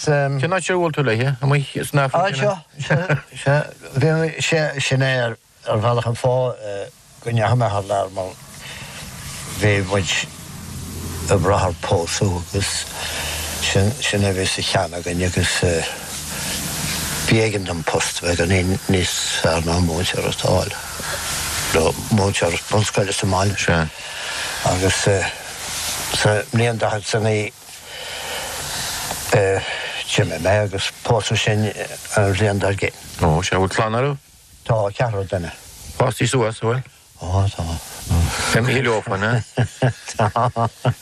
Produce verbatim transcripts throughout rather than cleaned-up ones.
Cén áit ar bhuail tú léi? Amuigh san Afraic? Seo, seo, bhí sé sin é ar ar bhealach an fáth go ndeachaigh mé thar lear mar bhí muid ag brath ar pósadh agus sin sin a bhí sa cheann againn agus b'éigean dom post a bheith againn níos fearr ná múinteoireacht a fháil nó múinteoir bunscoile sa mbaile. Sea. Agus sa mbliain daichead is a naoi d'imigh mé agus pósadh sinn an bhliain dár gcionn. Ó, sea, bhfuil clann oraibh? Tá, ceathrar duine. Fástaí suas, an bhfuil? Ó, tá. Imithe leofa, an ea? Tá.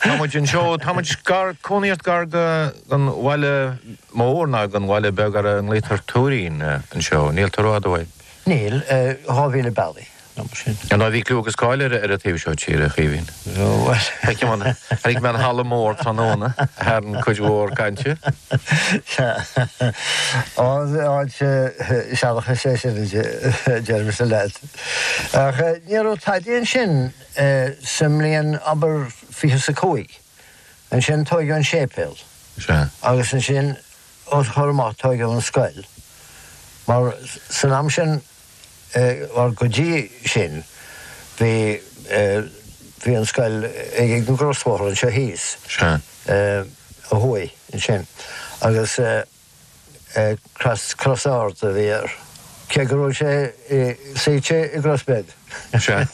Tá muid anseo, tá muid gar, cónaí ort gar go, don bhaile mór ná don bhaile beag ar a nglaotar Tuairín anseo, níl tú rófhada uaidh. Níl, dhá mhíle bealaigh. Nó mar sin. Ar ndóigh, bhí clú agus cáil ar an taobh seo tíre, a Chaoimhín. Bhuel. Feicim an, chonaic mé an halla mór tráthnóna, a tharraing cuid mhór cainte. Sea. Áit sealachais é sin, a deirimse leat. Ach ní raibh tadaí ansin sa mbliain, abair, fiche is a cúig. Ansin tóigeadh an séipéal. Sea. Agus ansin, os a chomhair amach, tóigeadh an scoil. Mar san am sin, Mar go dtí sin bhí bhí an scoil ag an gcrosbhóthar anseo thíos. Sea. Ó thuaidh ansin agus Crois Cros Ard a bhí air. Cé go raibh sé suite i gcros beag. Sea.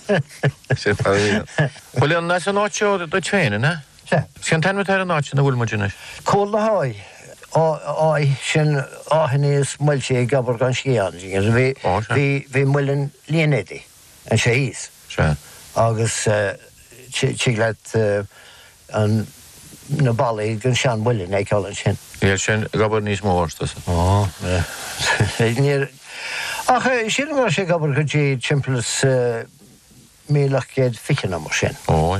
Sin mar a bhí. Bhuel an as an áit seo duit féin, an ea? Sea. Cén t-ainm atá ar an áit ina bhfuil muid anois? Cúl na hÁidhe. Áidh, sin áitheanna is muilte ag obair gan sciath ann. Bhí, bhí, bhí muileann línéadaí anseo thíos. Sea. Agus tig leat an, na ballaí den seanmhuileann a fheiceáil ansin. Níl sin ag obair níos mó, arsa tusa. Ó, níor, ach sílim go raibh sé ag obair go dtí timpeall is míle ocht gcéad fiche nó mar sin. Ó,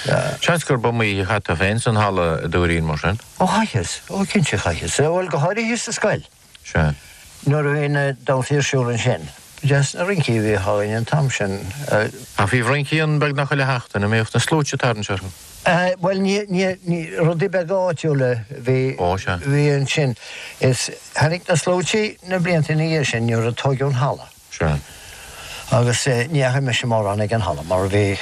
yeah. Seans gurb iomaí oíche a chaith tú féin san halla i dTuairín mar sin? Ó, chaitheas. Ó, cinnte chaitheas. Bhuel, go háirithe sa scoil. Sea. Nuair a bhí na damhsaí ar siúl ansin. Ba deas na rincí a bhíodh againn an t-am sin. Ach bhíodh rincí ann beagnach chuile sheachtain, an mbíodh na sluaite ag tarraingt orthu? Bhuel, ní, ní, ní, rudaí beaga áitiúla a bhí, Ó, sea. bhí ansin. Is tháinig na sluaite na blianta ina dhiaidh sin nuair a tóigeadh an halla. Sea. Agus ní dheachaigh mise mórán ag an halla mar bhí,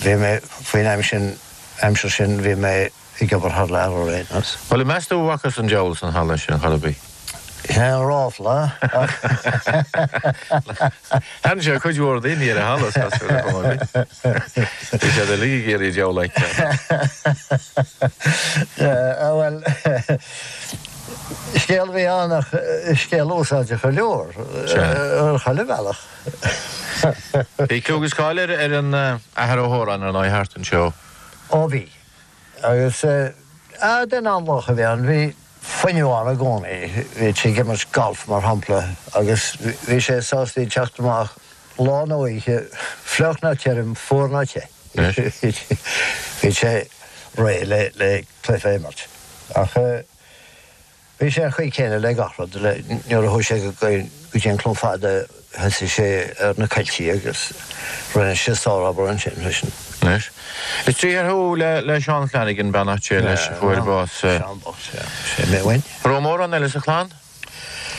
bhí mé, faoin am sin, aimsir sin, bhí mé ag obair thar lear ar aon nós. Bhuel, an meas tú an bhfacthas an diabhal san halla sin chor ar bith? Sin é an ráfla ach. Tharraing sé cuid mhór daoine ar an halla, is cosúil, ar chuma ar bith. Bhí siad uilig ag iarraidh diabhal a fheiceáil. Bhuel. Scéal a bhí ann ach scéal úsáideach go leor ar chuile bhealach. Bhí clú agus cáil ar an Athair Ó hÓráin ar ndóigh thart anseo. Ó bhí. Agus duine an-lách a bhí ann. Bhí fuinneamh ann i gcónaí. Bhí sé ag imirt golf mar shampla agus bhí sé sásta teacht amach lá nó oíche, fliuch nó tirim, fuar nó te. Bhí sé réidh le cluiche a imirt. Ach bhí sé an chaoi céanna le gach rud, nuair a chuaigh sé go dtí an Cluain Fada thosaigh sé ar na coilltí agus rinne sé sárobair ansin freisin. Anois, is deartháir thú le Seán Flanagan, beannacht Dé leis, a fuair bás. Seán bocht, sea. Sé mé uain. An raibh mórán eile sa chlann?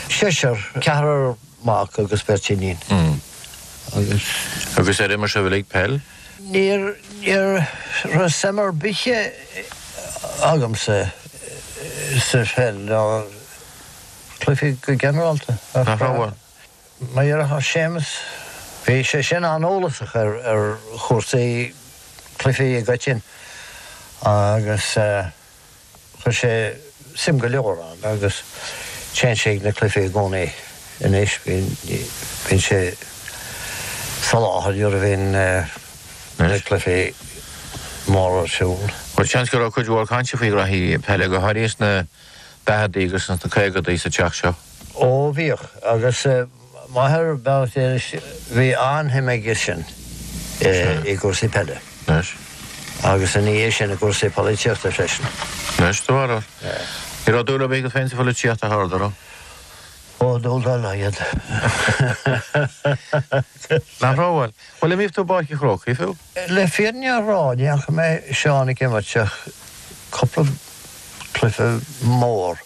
Seisear, ceathrar mac agus beirt iníon. Agus. Agus ar imir sibh uilig peil? Níor, ní raibh suim ar bith agamsa sa pheil ná cluichí go ginearálta. Nach raibh? Mo dheartháir Séamus, bhí sé sin an-eolasach ar ar chúrsaí cluichí i gcoitinne agus chuir sé suim go leor ann agus téann sé ag na cluichí i gcónaí anois, bíonn sé sa láthair nuair a bhíonn na cluichí móra ar siúl. Bhuel, seans go raibh cuid mhór cainte faoi ghraithí peile, go háirithe sna daicheadaí agus sna caogadaí sa teach seo. Ó, bhíodh, agus m'athair, beannacht Dé leis, bhí an-shuim aige sin i gcúrsaí peile. Anois. Agus ina dhiaidh sin i gcúrsaí polaitíochta freisin. Anois, do bharúil? Ní raibh dúil ar bith agat féin sa pholaitíocht a Shárda, raibh? Ó, dúil dá laghad. Nach raibh, bhuel. Bhuel, an mbíodh tú i bPáirc an Chrócaigh, fiú? Le fírinne a rá, ní fhaca mé Seán ag imirt ach cúpla cluiche mór.